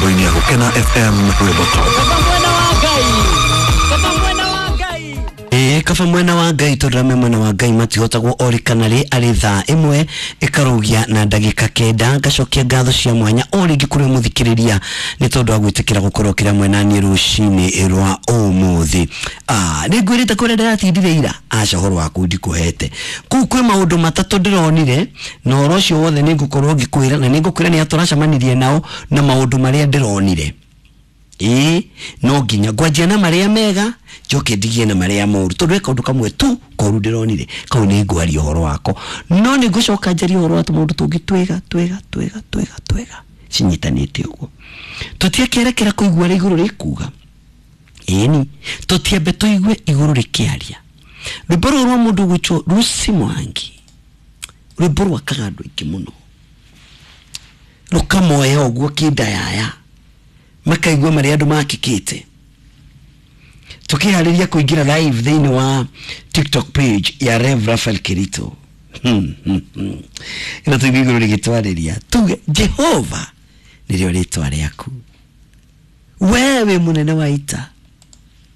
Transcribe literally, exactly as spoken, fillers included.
Mĩtambo-inĩ ya Gũkena F M Rwĩmbo Top. Ĩĩ, kaba mwena wa Ngai tondũ arĩa me mwena wa Ngai matihotagwo orĩ kana rĩ arĩ thaa ĩmwe ĩkarũgia na ndagĩka kenda. Ngacokia ngatho cia mwanya o rĩngĩ kũrĩ mũthikĩrĩria nĩ tondũ wa gwĩtĩkĩra gũkorwo kĩrĩa mwena niĩ rũcinĩ rwa ũmũthĩ. Ah, nĩ ngwĩrĩte kũrĩa ndĩratindire ira, aca ũhoro waku ndikũhete. Kũu kwĩ maũndũ matatũ ndĩronire na ũhoro ũcio wothe nĩ ngũkorwo ngĩkwĩra, na nĩ ngũkwĩra nĩ atũracemanirie nao na maũndũ marĩa ndĩronire. Ĩĩ, no nginya ngwanjia na marĩa mega njoke ndigie na marĩa moru, tondũ he kaũndũ kamwe tu koru ndĩronire kau nĩ ngwaria ũhoro wako, no nĩ ngũcoka njarie ũhoro wa tũmaũndũ tũngĩ twega twega twega twega twega cinyitanĩte ũguo. Tũtiakerekera kũigua ũrĩa igũrũ rĩkuga. Ĩni, tũtiambe tũigue igũrũ rĩkĩaria. Rwĩmbo rũrũ rwa mũndũ ũgwĩtwo Lucy Mwangi, rwĩmbo rwakaga andũ aingĩ mũno, rũkamoya ũguo kĩndayaya, makaigua marĩa andũ makĩkĩte. Tukiharĩria kũingĩra live thĩinĩ wa TikTok page ya Rev Raphael Kirito. Hmm, hmm, hmm. Ĩno tũigue igũrũ rĩgĩtwarĩria tuge Jehova nĩrĩo rĩtwa rĩaku, we wĩ mũnene wa ita.